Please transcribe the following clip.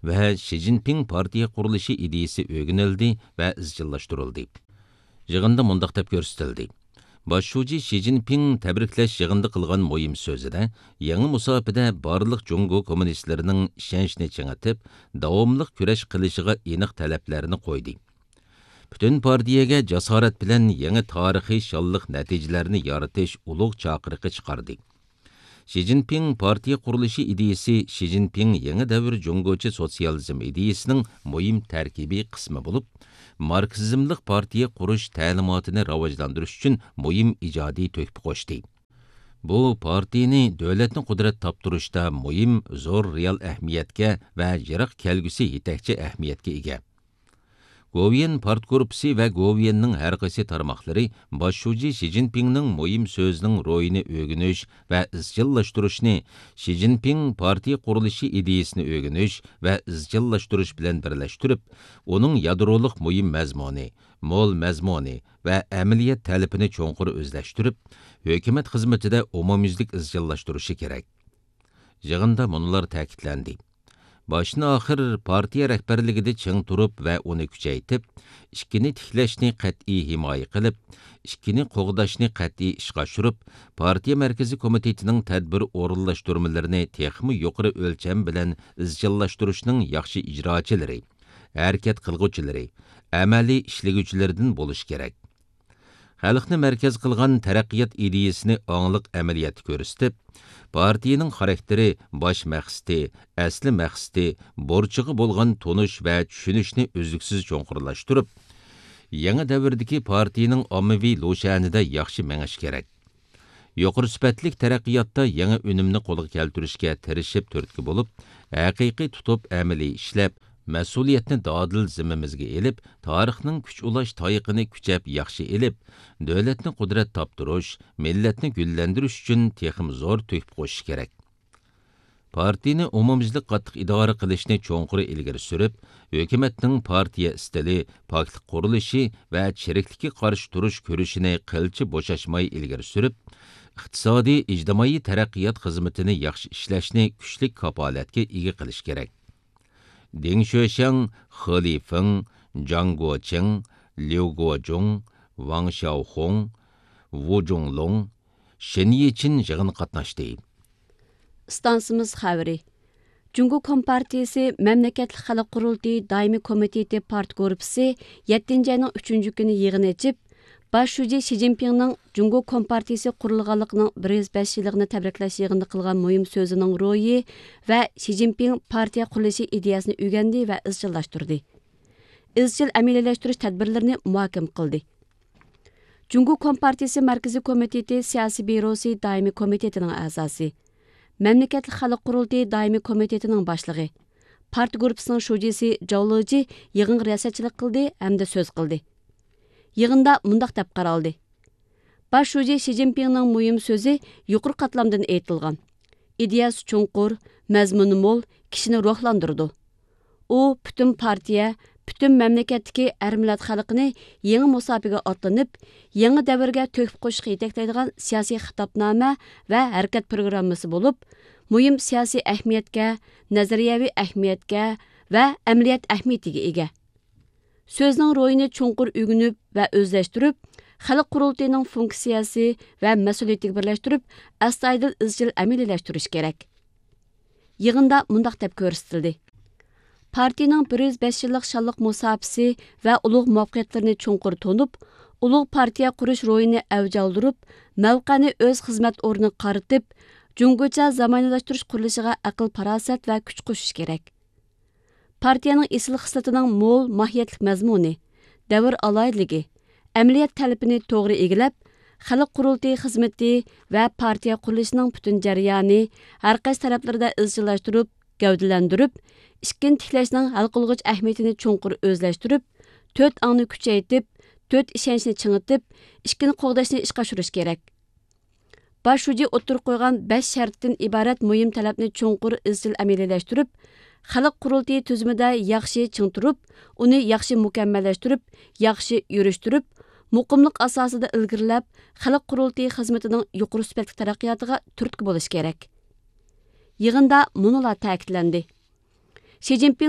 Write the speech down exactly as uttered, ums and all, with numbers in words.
ۋە شى جىنپىڭ پارتىيە قۇرۇلۇشى ئىدىيىسى ئۆگىنىلدى ۋە ئىزچىللاشتۇرۇلدى. يىغىندا مۇنداق دەپ كۆرسىتىلدى: باش شۇجى شى جىنپىڭ تەبرىكلەش يىغىنىدا قىلغان مۇھىم سۆزىدە يېڭى مۇساپىدە بارلىق جۇڭگو كوممۇنىستلىرىنىڭ ئىشەنچىنى چىڭىتىپ، داۋاملىق كۈرەش قىلىشىغا ئېنىق تەلەپلەرنى قويدى. پۈتۈن پارتىيەگە جاسارەت بىلەن يېڭى تارىخىي شانلىق نەتىجىلەرنى يارىتىش ئۇلۇغ چاقىرىقى چىقاردى. شى جىنپىڭ پارتىيە قۇرۇلۇشى ئىدىيىسى شى جىنپىڭ يېڭى دەۋر جۇڭگوچە سوتسىيالىزم ئىدىيىسىنىڭ مۇھىم تەركىبىي قىسمى بولۇپ، ماركسىزملىق پارتىيە قۇرۇش تەلىماتىنى راۋاجلاندۇرۇش ئۈچۈن مۇھىم ئىجادىي تۆھپە قوشتى. بۇ پارتىيىنى دۆلەتنى قۇدرەت تاپتۇرۇشتا مۇھىم، زور رېئال ئەھمىيەتكە ۋە يىراق كەلگۈسى يېتەكچى ئەھمىيەتكە ئىگە. گوۋۇيۈەن پارتگۇرۇپپىسى ۋە گوۋۇيۈەننىڭ ھەر قايسى تارماقلىرى باش شۇجى شى جىنپىڭنىڭ مۇھىم سۆزىنىڭ روھىنى ئۆگىنىش ۋە ئىزچىللاشتۇرۇشنى، شى جىنپىڭ پارتىيە قۇرۇلۇشى ئىدىيىسىنى ئۆگىنىش ۋە ئىزچىللاشتۇرۇش بىلەن بىرلەشتۈرۈپ، ئۇنىڭ يادرولۇق مۇھىم مەزمۇنى، مول مەزمۇنى ۋە ئەمەلىيەت تەلىپىنى چوڭقۇر ئۆزلەشتۈرۈپ، ھۆكۈمەت خىزمىتىدە ئومۇميۈزلۈك ئىزچىللاشتۇرۇشى كېرەك. يىغىندا مۇنۇلار تەكىتلەندى: باشتىن ئاخىر پارتىيە رەھبەرلىكىدە چىڭ تۇرۇپ ۋە ئۇنى كۈچەيتىپ، ئىككىنى تىكلەشنى قەتئىي ھىمايە قىلىپ، ئىككىنى قوغداشنى قەتئىي ئىشقا ئاشۇرۇپ، پارتىيە مەركىزىي كومىتېتىنىڭ تەدبىر ئورۇنلاشتۇرمىلىرىنى تېخىمۇ يۇقىرى ئۆلچەم بىلەن ئىزچىللاشتۇرۇشنىڭ ياخشى ئىجراچىلىرى، ھەرىكەت قىلغۇچىلىرى، ئەمەلىي ئىشلىگۈچىلىرىدىن بولۇشى كېرەك. خەلقنى مەركەز قىلغان تەرەققىيات ئىدىيىسىنى ئاڭلىق ئەمەلىيەتتە كۆرسىتىپ، پارتىيىنىڭ خاراكتېرى، باش مەقسىتى، ئەسلى مەقسىتى، بۇرچىغا بولغان تونۇش ۋە چۈشىنىشنى ئۈزلۈكسىز چوڭقۇرلاشتۇرۇپ، يېڭى دەۋردىكى پارتىيىنىڭ ئاممىۋى لۇشيەنىدە ياخشى مېڭىشى كېرەك. يۇقىرى سۈپەتلىك تەرەققىياتتا يېڭى ئۈنۈمنى قولغا كەلتۈرۈشكە تىرىشىپ تۈرتكە بولۇپ، ھەقىقىي تۇتۇپ ئەمەلىي ئىشلەپ، مەسئۇلىيەتنى دادىل زىممىمىزگە ئېلىپ، تارىخنىڭ كۈچ ئۇلاش تايىقىنى كۈچەپ ياخشى ئېلىپ، دۆلەتنى قۇدرەت تاپتۇرۇش، مىللەتنى گۈللەندۈرۈش ئۈچۈن تېخىمۇ زور تۆھپە قوشۇش كېرەك. پارتىيىنى ئومۇميۈزلۈك قاتتىق ئىدارە قىلىشنى چوڭقۇر ئىلگىرى سۈرۈپ، ھۆكۈمەتنىڭ پارتىيە ئىستىلى، پاكلىق قۇرۇلۇشى ۋە چىرىكلىككە قارشى تۇرۇش كۈرىشىنى قىلچە بوشاشماي ئىلگىرى سۈرۈپ، ئىقتىسادىي، ئىجتىمائىي تەرەققىيات خىزمىتىنى ياخشى ئىشلەشنى كۈچلۈك كاپالەتكە ئىگە قىلىش كېرەك. دېڭ شۆشياڭ، خې لىفېڭ، جاڭ گوچىڭ، ليۇ گوجۇڭ، ۋاڭ شياۋخۇڭ، ۋۇ جۇڭلۇڭ، شېن يىچىن يىغىنغا قاتناشتى. ئىستانسىمىز خەۋىرى. جۇڭگو كومپارتىيىسى مەملىكەتلىك خەلق قۇرۇلتىيى دائىمىي كومىتېتى پارتگۇرۇپپىسى يەتتىنچى ئاينىڭ ئۈچىنچى كۈنى يىغىن ئېچىپ، باش شۇجى شى جىنپىڭنىڭ جۇڭگو كومپارتىيىسى قۇرۇلغانلىقىنىڭ بىر يۈز بەش يىللىقىنى تەبرىكلەش يىغىنىدا قىلغان مۇھىم سۆزىنىڭ روھى ۋە شى جىنپىڭ پارتىيە قۇرۇلۇشى ئىدىيەسىنى ئۆگەندى ۋە ئىزچىللاشتۇردى. ئىزچىل ئەمەلىيلەشتۈرۈش تەدبىرلىرىنى مۇھاكىمە قىلدى. جۇڭگو كومپارتىيىسى مەركىزىي كومىتېتى سىياسىي بيۇروسى دائىمىي كومىتېتىنىڭ ئەزاسى، مەملىكەتلىك خەلق قۇرۇلتىيى دائىمىي كومىتېتىنىڭ باشلىقى، پارتىيە گۇرۇپپىسىنىڭ شۇجىسى جاۋ لېجى يىغىنغا رىياسەتچىلىك قىلدى ھەمدە سۆز قىلدى. يىغىندا مۇنداق دەپ قارالدى: باش شۇجى شى جىنپىڭنىڭ مۇھىم سۆزى يۇقىرى قاتلامدىن ئېيتىلغان. ئىدىيەسى چوڭقۇر، مەزمۇنى مول، كىشىنى روھلاندۇرىدۇ. ئۇ پۈتۈن پارتىيە، پۈتۈن مەملىكەتتىكى ھەر مىللەت خەلقىنى يېڭى مۇساپىگە ئاتلىنىپ، يېڭى دەۋرگە تۆھپە قوشۇشقا يېتەكلەيدىغان سىياسىي خىتابنامە ۋە ھەرىكەت پروگراممىسى بولۇپ، مۇھىم سىياسىي ئەھمىيەتكە، نەزەرىيەۋى ئەھمىيەتكە ۋە ئەمەلىيەت ئەھمىيىتىگە ئىگە. سۆزنىڭ روھىنى چوڭقۇر ئۆگىنىپ ۋە ئۆزلەشتۈرۈپ، خەلق قۇرۇلتىيىنىڭ فۇنكسىيەسى ۋە مەسئۇلىيىتىگە بىرلەشتۈرۈپ، ئەستايىدىل ئىزچىل ئەمەلىيلەشتۈرۈش كېرەك. يىغىندا مۇنداق دەپ كۆرسىتىلدى: پارتىيىنىڭ بىر يۈز بەش يىللىق شانلىق مۇساپىسى ۋە ئۇلۇغ مۇۋەپپەقىيەتلىرىنى چوڭقۇر تونۇپ، ئۇلۇغ پارتىيە قۇرۇش روھىنى ئەۋج ئالدۇرۇپ، مەۋقەنى ئۆز خىزمەت ئورنىغا قارىتىپ، جۇڭگوچە زامانىۋىلاشتۇرۇش قۇرۇلۇشىغا ئەقىل-پاراسەت ۋە كۈچ قوشۇش كېرەك. پارتىيەنىڭ ئېسىل خىسلىتىنىڭ مول ماھىيەتلىك مەزمۇنى، دەۋر ئالاھىدىلىكى، ئەمەلىيەت تەلىپىنى توغرا ئىگىلەپ، خەلق قۇرۇلتىيى خىزمىتى ۋە پارتىيە قۇرۇلۇشىنىڭ پۈتۈن جەريانى ھەر قايسى تەرەپلىرىدە ئىزچىللاشتۇرۇپ، گەۋدىلەندۈرۈپ، ئىككىنى تىكلەشنىڭ ھەل قىلغۇچ ئەھمىيىتىنى چوڭقۇر ئۆزلەشتۈرۈپ، تۆت ئاڭنى كۈچەيتىپ، تۆت ئىشەنچنى چىڭىتىپ، ئىككىنى قوغداشنى ئىشقا ئاشۇرۇش كېرەك. باش شۇجى ئوتتۇرىغا قويغان بەش شەرتتىن ئىبارەت مۇھىم تەلەپنى چوڭقۇر ئىزچىل ئەمەلىيلەشتۈرۈپ، خەلق قۇرۇلتىيى تۈزۈمىدە ياخشى چىڭ تۇرۇپ، ئۇنى ياخشى مۇكەممەللەشتۈرۈپ، ياخشى يۈرۈشتۈرۈپ، مۇقىملىق ئاساسىدا ئىلگىرىلەپ، خەلق قۇرۇلتىيى خىزمىتىنىڭ يۇقىرى سۈپەتلىك تەرەققىياتىغا تۈرتكە بولۇش كېرەك. يىغىندا مۇنۇلار تەكىتلەندى. شى جىنپىڭ